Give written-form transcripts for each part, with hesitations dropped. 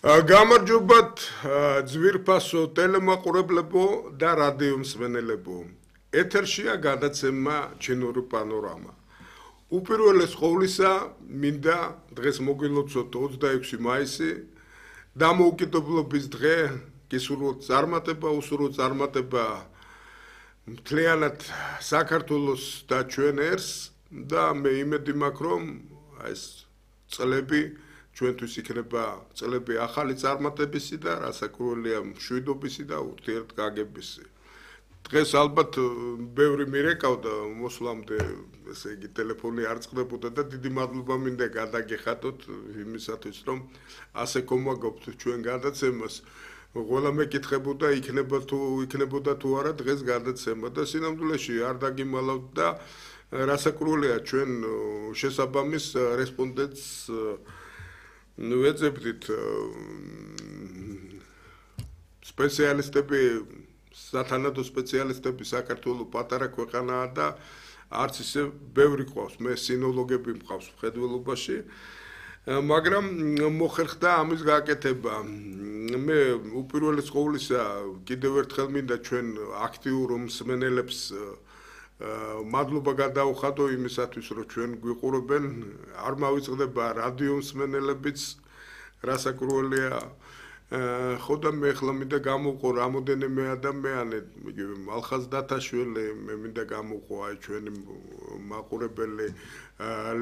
გამარჯობათ ძვირფასო ტელემაყურებლებო და რადიო მსმენელებო. ეთერშია გადაცემა ჩინური პანორამა. უპირველეს ყოვლისა მინდა დღეს მოგილოცოთ 26 მაისი დამოუკიდებლობის დღე, გისურვოთ წარმატება, უსურვოთ წარმატება მთლიანად საქართველოს და ჩვენ ერს და მე იმედი მაქვს რომ ეს წლები ჩვენთვის იქნება წლები ახალი წარმატებისი და რასაკვირველია მშვიდობისი და ურთიერთგაგებისი. დღეს ალბათ ბევრი მირეკავდა მოსვლამდე, ესე იგი ტელეფონი არ წყდებოდა და დიდი მადლობა მინდა გადაგეხადოთ იმისათვის რომ ასე გომაგობთ ჩვენ გადაცემას. ყველა მეკითხებოდა იქნებოდა თუ არა დღეს გადაცემა და სინამდვილეში არ დაგიმალავთ და რასაკვირველია ჩვენ შესაბამის რესპონდენტს ვეძებდით სპეციალისტები, სათანადო სპეციალისტები საქართველოს პატარა ქვეყანაა და არც ისე ბევრი ყავს, მე სინოლოგები მყავს მხედველობაში, მაგრამ მოხერხდა ამის გაკეთება. მე უპირველეს ყოვლისა კიდევ ერთხელ მინდა ჩვენ აქტიურ მსმენელებს მადლობა გადაუხადო იმისათვის, რომ ჩვენ გვიყურებენ, არ მავიწყდება რადიო მსმენელებიც, რასაკვირველია, ხო და მე ახლა მინდა გამოვყო რამოდენიმე ადამიანი, იგივე მალხაზ დათაშვილი, მე მინდა გამოვყო აი ჩვენი მაყურებელი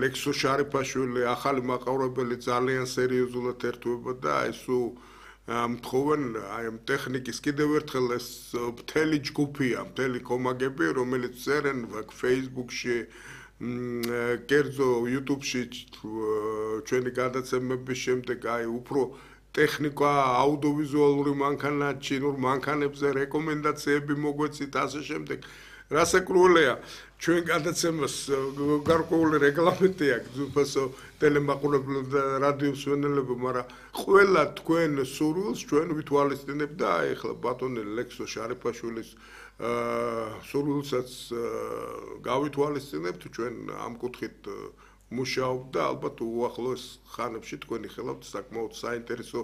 ლექსო შარიფაშვილი, ახალი მაყურებელი ძალიან სერიოზულად ერთვება და აი სულ მთხოვენ აი ტექნიკის კიდევ ერთხელ ეს მთელი ჯგუფია, მთელი კომაგები, რომელიც წერენ Facebook-ში, კერძო YouTube-ში ჩვენი გადაცემების შემდეგ აი უფრო ტექნიკა, აუდიოვიზუალური მანქანა, ჩინურ მანქანებზე რეკომენდაციები მოგვეცით ასე შემდეგ. რასაკვირველია, ჩვენ გადაცემას გარკვეული რეგლამენტი აქვს ძვირფასო ტელემაყურებლებო და რადიო მსმენელებო, მაგრამ ყველა თქვენ სურვილს ჩვენ ვითვალისწინებთ და აი ახლა ბატონი ლექსო შარიფაშვილის სურვილსაც გავითვალისწინებთ, ჩვენ ამ კუთხით მუშაობთ და ალბათ უახლოეს ხანებში თქვენი ხელავთ საკმაოდ საინტერესო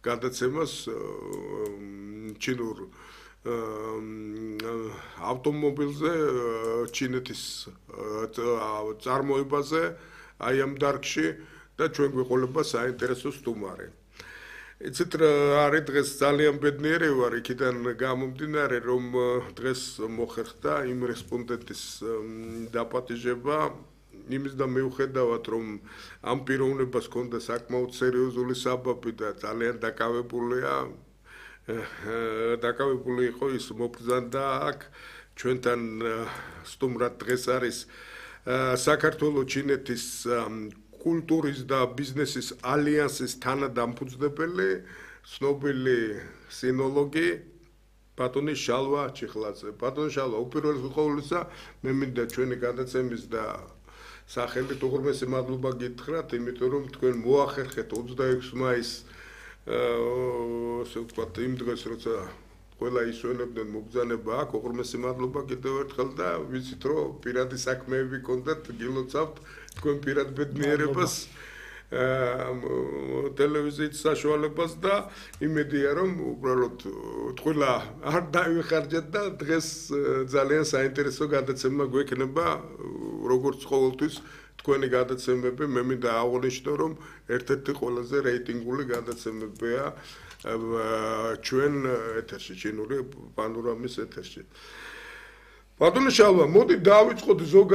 გადაცემას ჩინურ ავტომობილზე, ჩინეთის წარმოებაზე, აი ამ დარგში და ჩვენ გვიყოლება საინტერესო სტუმარი. იცით რა არის დღეს ძალიან ბედნიერი ვარ იქიდან გამომდინარე, რომ დღეს მოხერხდა იმ რესპონდენტის დაპატიჟება, იმის და მიუხედავად რომ ამ პიროვნებას ჰქონდა საკმაოდ სერიოზული საბაბი და ძალიან დაკავებული იყო ის მობრძანდა აქ ჩვენთან სტუმრად დღეს არის საქართველოს ჩინეთის კულტურის და ბიზნესის ალიანსის თანადამფუძნებელი, ცნობილი სინოლოგი ბატონი შალვა ჩიხლაძე. ბატონი შალვა, უპირველეს ყოვლისა მე მინდა ჩვენი გადაცემის და სახელით უღრმესი მადლობა გითხრათ, იმიტომ რომ თქვენ მოახერხეთ 26 მაისს ასე ვთქვათ იმ დღეს, როცა ყველა ისვენებდნენ მობრძანება აქ, უღრმესი მადლობა კიდევ ერთხელ და ვიცით რომ პირადი საქმეები გქონდათ, გილოცავთ თქვენ პირად ბედნიერებას ტელევიზიის საშუალებას და იმედია რომ უბრალოდ თქვა არ დაივეხარჯეთ და დღეს ძალიან საინტერესო გადაცემა გვექნება როგორც ყოველთვის თქვენი გადაცემები. მე მინდა აღვნიშნო რომ ერთ-ერთი ყველაზე რეიტინგული გადაცემებია ჩვენ ეთერში, ჩინური პანორამის ეთერში. ბატონო შალვა, მოდი დავიწყოთ ზოგადად